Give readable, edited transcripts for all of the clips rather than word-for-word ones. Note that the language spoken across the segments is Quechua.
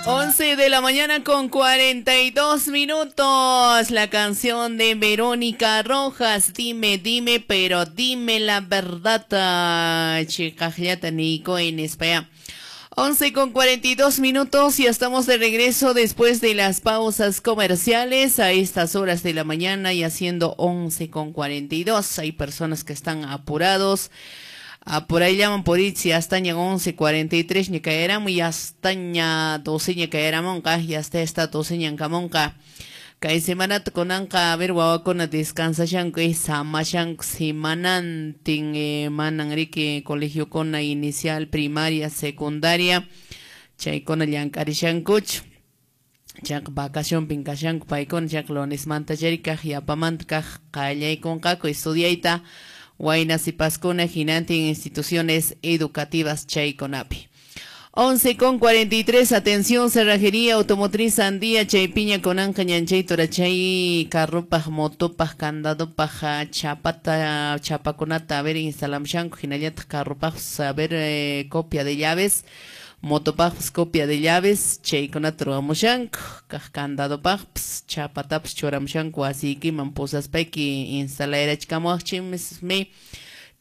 11 de la mañana con 42 minutos. La canción de Verónica Rojas. Dime, dime, pero dime la verdad. Chiqaqllata niykuway nispaya. 11 con 42 minutos y estamos de regreso después de las pausas comerciales a estas horas de la mañana y haciendo 11 con 42. Hay personas que están apurados. Ah, por ahí llaman por itzi hasta ña 11:43 ña caeramo y hasta ña 12 ña caeramonqa y hasta esta 12 ña kamonqa. Kay semanata kunanqa a ver wawakuna descansashanku samashanku semanantin manan riki colegiokuna inicial, primaria, secundaria chaykuna llank'arishankuchu. Chayqa vacacionpin kashanku paykuna chayqa lunesmanta chayri kaq yapamanta kaq qallaykunqaku estudiayta wayna sipaskuna hinantin instituciones educativas chaykunapi. 11 con 43, atención, cerrajería automotriz Andía, chaypiña kunanqa ñanchay turachay carropaj, motopaj, candadopaj, chapata, chapakunata, a ver, instalamshanku, hinallataq carropaj, a ver, copia de llaves, motopaj, copia de llaves, chaykunata ruwamushanku, kaq candadopaj, chapatapas churamushanku, wasiykiman pusaspayki instalarachkamuwaqchismi,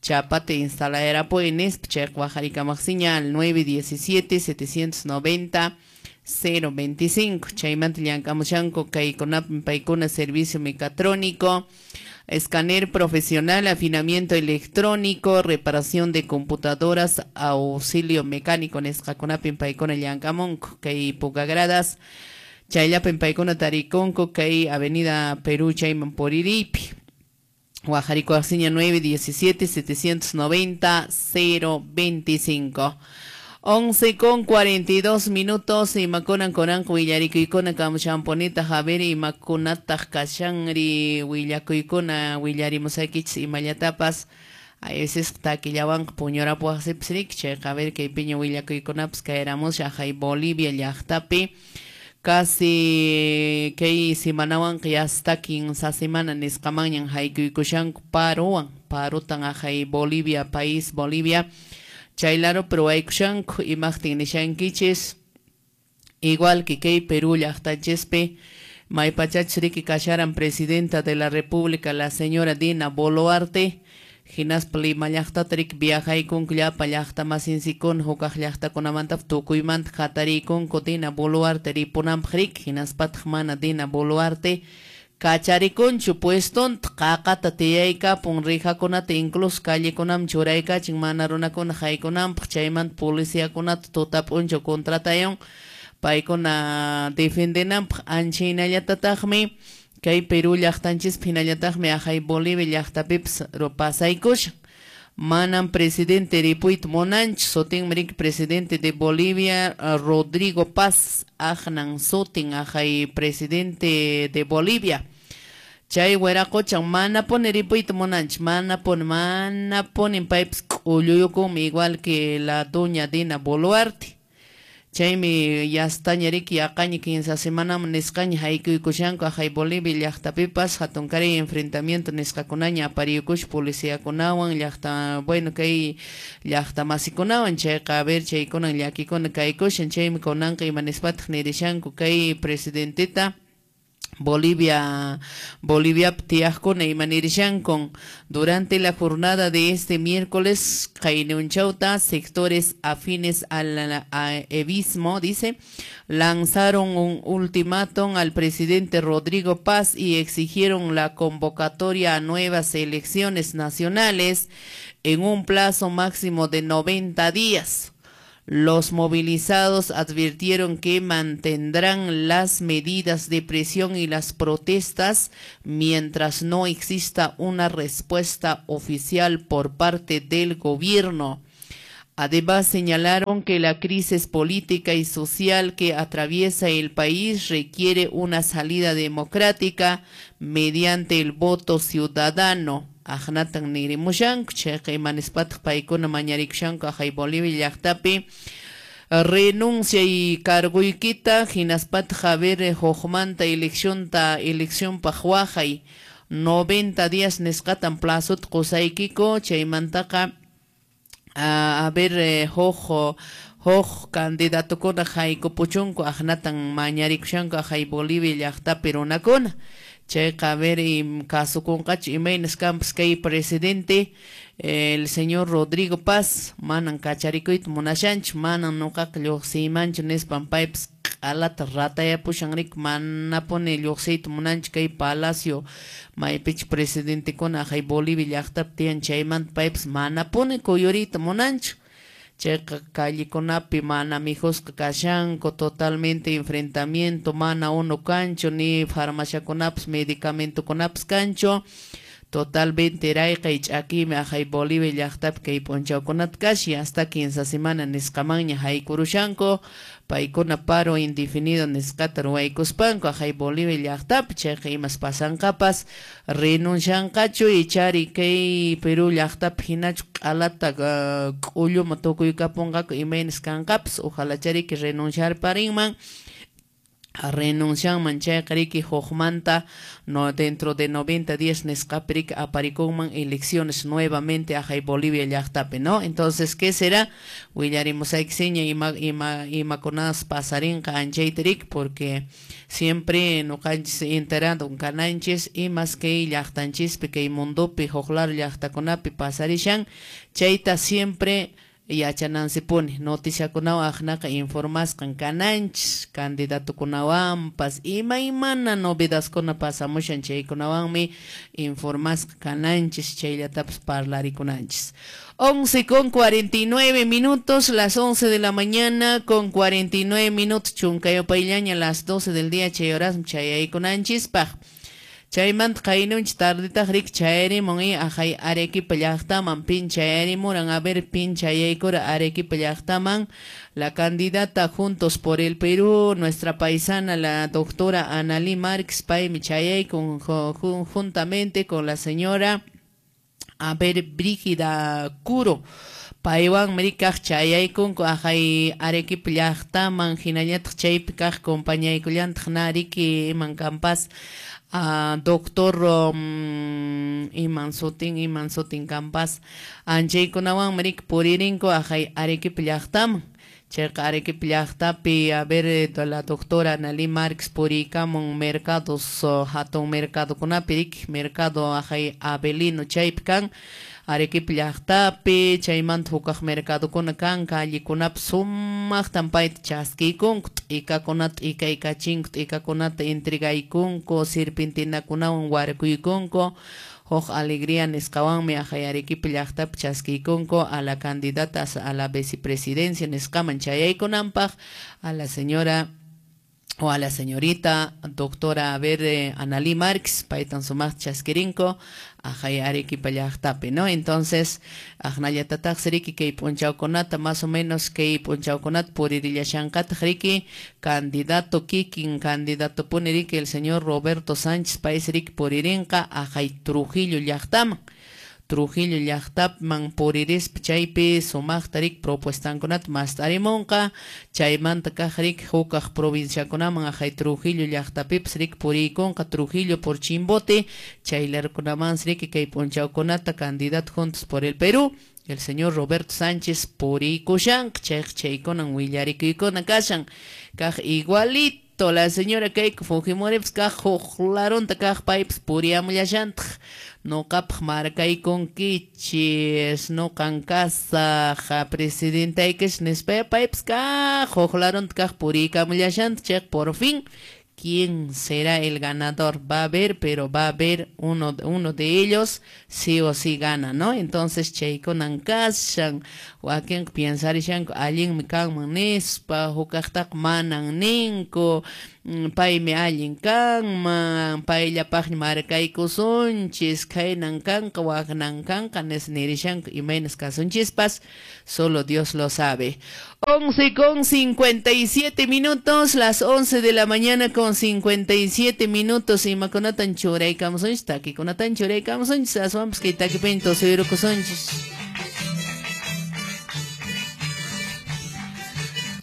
chapata instalarapuni nispa, chayqa waqarikamaqsiña al 917 790 025. Chaymanta llank'amushanku kaykunapi paykuna servicio mecatrónico, escáner profesional, afinamiento electrónico, reparación de computadoras, auxilio mecánico nisqakunapi paykuna llank'amunku kay Pucagradas, chayllapin paykuna tarikunku kay Avenida Perú chayman puriripi. Waqarikuwaqsiña 917 790 025. 11 con 42 minutos, imakunan kunanqa willarikuykuna kamushanpunita Javier, imakunataq kashanri willakuykuna willarimusaykichis imallatapas. A veces takillawanqa puñurapuwaqsipas riki, chayqa a ver kaypiña willakuykunapas kayramusha hay Bolivia llaqtapi. Casi kay semanawanqa yasta kinsa semana nisqamanñan haykuykushanku parowan, parotan ajay Bolivia, país Bolivia. Chaylaro ruwaykushanku imaqtin nishankichis, igual que kay Perú llaqtanchispi maypachachus riki kasharan presidenta de la República la señora Dina Boluarte, hinaspa Lima llaqtata riki viajaykunku llapa llaqtamasinsikuna hukaq llaqtakunamanta tukuymanta hatariykunku Dina Boluarte ripunanpaq riki, hinaspataq mana Dina Boluarte kacharikunchu puestonta qaqata tiyaykapun rijakunata incluso callekunaman churaykachin mana runakuna haykunanpaq, chaymanta policiakunata tuta p'unchaw contratayon paykuna defendenanpaq. Ancha hinallatataqmi kay Perú llaqtanchispi hinallataqmi ajay Bolivia llaqtapipas pasaykushan. Manam presidente ripuyta munanchu, sutinmi riki presidente de Bolivia Rodrigo Paz aqnan sutin ajay presidente de Bolivia. Chay wiraqochan manapuni ripuyta munanchu, manapuni, manapuni paypas k'ulluyukunmi igual que la doña Dina Boluarte. Chaymi yastaña riki yaqaña kinsa semanaman nisqaña haykuykushanku ajay Bolivia llaqtapipas hatunkaray enfrentamiento nisqakunaña apariyukusha policiakunawan llaqta, bueno kay llaqtamasikunawan, chayqa a ver chaykunan llakikuna kaykushan, chaymi kunanqa ima nispataq nirishanku kay presidenteta Bolivia, Bolivia tiyaqkuna ima nirishankun. Durante la jornada de este miércoles, Qaynunchawta, sectores afines al evismo, dice, lanzaron un ultimátum al presidente Rodrigo Paz y exigieron la convocatoria a nuevas elecciones nacionales en un plazo máximo de 90 días. Los movilizados advirtieron que mantendrán las medidas de presión y las protestas mientras no exista una respuesta oficial por parte del gobierno. Además, señalaron que la crisis política y social que atraviesa el país requiere una salida democrática mediante el voto ciudadano. Aqnatan nirimushanku, chayqa imanispataq paykuna mañarikushanku ajay Bolivia llaqtapi renuncia y carguykita hinaspataq a ver hukmanta eleccionta eleccionpaq waqay 90 días nisqatan plazota qusaykiku, chaymantaqa a ver huk Huk candidatokuna haykupuchunku aqnatan mañarikushanku aqhay Bolivia llaqtapi runakuna. Chayqa a ver kasukunqachu imaynas kanpas kay presidente el señor Rodrigo Paz manan kacharikuyta munashanchu, manan nuqaqa lluqsiymanchu nispan paypas q'alata ratayapushan riki, manapuni lluqsiyta munanchu kay palacio maypichu presidentekuna aqhay Bolivia llaqtapi tiyan chaymanta paypas manapuni kuyuriyta munanchu. Chayqa callekunapi mana mijusqa kashanku, totalmente enfrentamiento, mana unu kanchu, ni farmaciakunapas medicamentokunapas kanchu, totalmente rayqay ch'akiymi aqhay Bolivia llaqtapi kay p'unchawkunata kashan, hasta 15 semana nisqamanña haykurushanku, paykuna paro indefinido nisqata ruwaykuspanku aqhay Bolivia llaqtapi, chayqa imas pasanqapas renuncianqachu ichari kay Perú llaqtapi hinachu q'alata k'ulluma tukuykapunqaku imaynas kanqapas, ojalá chariki renunciarparinman. Renuncianman chayqa riki hukmanta no dentro de 90 días nisqapi riki aparikunman elecciones nuevamente aqhay Bolivia llaqtapi, ¿no? Entonces, ¿qué será? Willarimusaykiseña imakunas pasarinqa anchayta riki, porque siempre nuqanchis enterado kananchis imas kay llaqtanchispi kay mundopi huklar llaqtakunapi pasarishan chayta siempre yachanansipuni noticiakunawan aqnaqa informasqan kananchis candidatokunawanpas imaymana novedadkuna pasamushan chaykunawanmi informasqa kananchis chayllatapas parlarikunanchis. 11:49 minutos, las 11 de la mañana con 49 minutos, chunkayopayllaña las 12 del día chay horasmi chayaykunanchispaq. Chaymanta qaynunchik tardetaq riki chayarimun aqhay Arequipa llaqtaman pin chayarimuran, a ver pin chayaykura Arequipa llaqtaman la candidata Juntos por el Perú, nuestra paisana la doctora Analí Márquez paymi chayaykun juntamente con la señora a ver Brígida Curo. Paywanmi rikaq chayaykunku aqhay Arequipa llaqtaman hinallataq chaypi kaq compañaykullantaq na riki iman kanpas doctor iman sutin kanpas anchaykunawanmi riki puririnku aqhay Arequipa llaqtaman. Chayqa Arequipa llaqtapi a ver la doctora Analí Márquez puriykamun mercados hatun mercadokunapi riki mercado aqhay Avelino chaypi kan Arequipa llaqtapi chaymanta hukaq mercadokuna kan callekunapi sumaqtan payta chaskiykunku t'ikakunata t'ikaykachinku t'ikakunata entregaykunku serpentinakunawan warkuykunku huk alegría nisqawanmi aqhay Arequipa llaqtapi chaskiykunku a la candidata a la vicepresidencia nisqaman chayaykunanpaq a la señora o a la señorita doctora a ver Analí Márquez paytan sumaqta chaskirinku aqhay Arequipa llaqtapi, ¿no? Entonces aqnallatataqsi riki kay p'unchawkunata más o menos kay p'unchawkunata puririllashanqataq riki candidato kikin candidato puni riki el señor Roberto Sánchez paysi riki puririnqa aqhay Trujillo llaqtaman. Trujillo llaqtaman puririspa chaypi sumaqta riki propuestankunata mast'arimunqa chaymanta kaq riki hukaq provinciakunaman aqhay Trujillo llaqtapipas riki puriykunqa Trujillo por Chimbote chaylarkunamansi riki kay p'unchawkunata candidato Juntos por el Perú el señor Roberto Sánchez puriykushanqa chayqa chaykunan willarikuykuna kashan kaq igualito la señora Keiko Fujimoripas kaq huk larunta kaq paypas puriyamullashantaq nuqapaq markaykunkichis nuqan kasaq presidentaykish nispa paypas kaq huk larunta kaq puriykamullashantaq chayqa por fin ¿quién será el ganador? Va a haber, pero va a haber uno de ellos sí o sí gana, ¿no? Entonces, chaykunan kashan, wakinqa piensarishanku allinmi kanman nispa, hukaqtaqa manan ninku, paymi allin kanman, payllapaqmi markaykusunchis, khaynan kanqa, waknan kanqa, nirishanku imaynas kasunchispas, solo Dios lo sabe. 11:57 minutos, las 11 de la mañana con 57 minutos, imakunatan churaykamusunchis, takikunatan churaykamusunchis, aswanpas kay takipiña tusuyrukusunchis.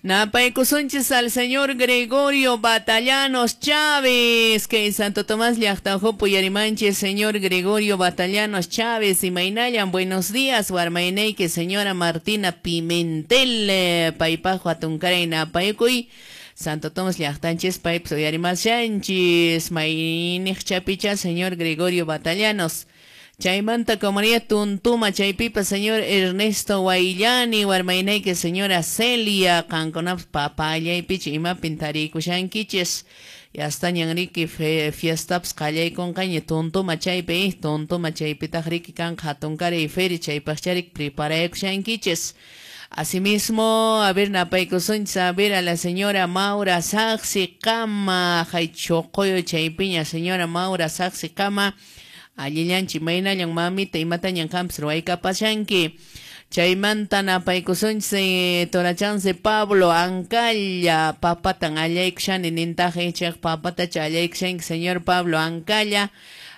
Napaykusunchis al señor Gregorio Batallanos Chávez, que Santo Tomás llaqtajupu yarimanchis, señor Gregorio Batallanos Chávez, imaynallan, buenos días, warmaynayki señora Martina Pimentel, paypaq hatunkaray napaykuy. Santo Tomás llaqtanchis paypis uyarimashanchis, mayniqchapicha señor Gregorio Batallanos. Chaymanta comunidad Tuntuma, chaypipa señor Ernesto Guayllani, warmaynayki señora Celia, qankunapas papallaypicha imapin tarikushankichis. Yastañan riki fiestapas qallaykunqaña Tuntuma chaypi, Tuntuma chaypitaq riki kanqa hatunkaray feria, chaypaqcharik preparaykushankichis. Asimismo, a ver, napaykusunchis, a ver, a la señora Maura Saxi Kama, hay choqoyo chaypiña, señora Maura Saxi Kama, allillanchi maynallan mamita imatañan qampas ruwaykapashanki. Chaymanta napaykusunchis torachanse Pablo Ancalla, papatan allaykushani nintaq chayqa papatacha allaykushanki señor Pablo Ancalla,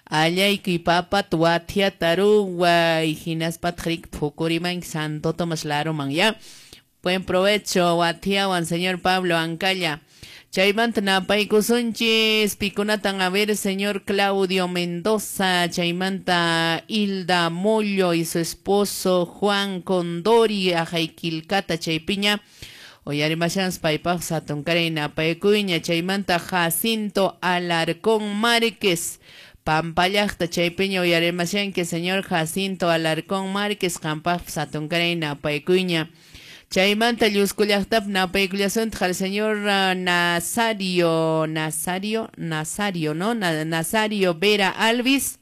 allaykuy papata wathiata ruway hinaspataq riki phukurimanki Santo Tomás laruman, ya. Buen provecho wathiawan señor Pablo Ancalla. Chaymanta napaykusunchis pikunatan a ver señor Claudio Mendoza, chaymanta Hilda Mollo y su esposo Juan Condori, ajayquilcata chaypiña, uyarimashanchis paypaq hatunkaray napaykuyña, chaymanta Jacinto Alarcón Márquez, Pampallaqta chaypiña uyarimashanki señor Jacinto Alarcón Márquez, qampaqpas hatunkaray napaykuyña. Chaymanta lluskullaqtap napaykullasuntaq al señor Nazario, Nazario, ¿no? Nazario Vera Alvis,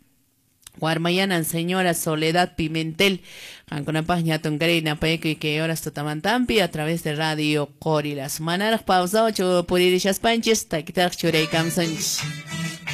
warmayanan señora Soledad Pimentel, qankunapaq hatunkaray napaykuy kay horas tutamantampi a través de Radio Qorilas. Manaraq pausachu puririshaspanchis, takitaraq churaykamsunchis.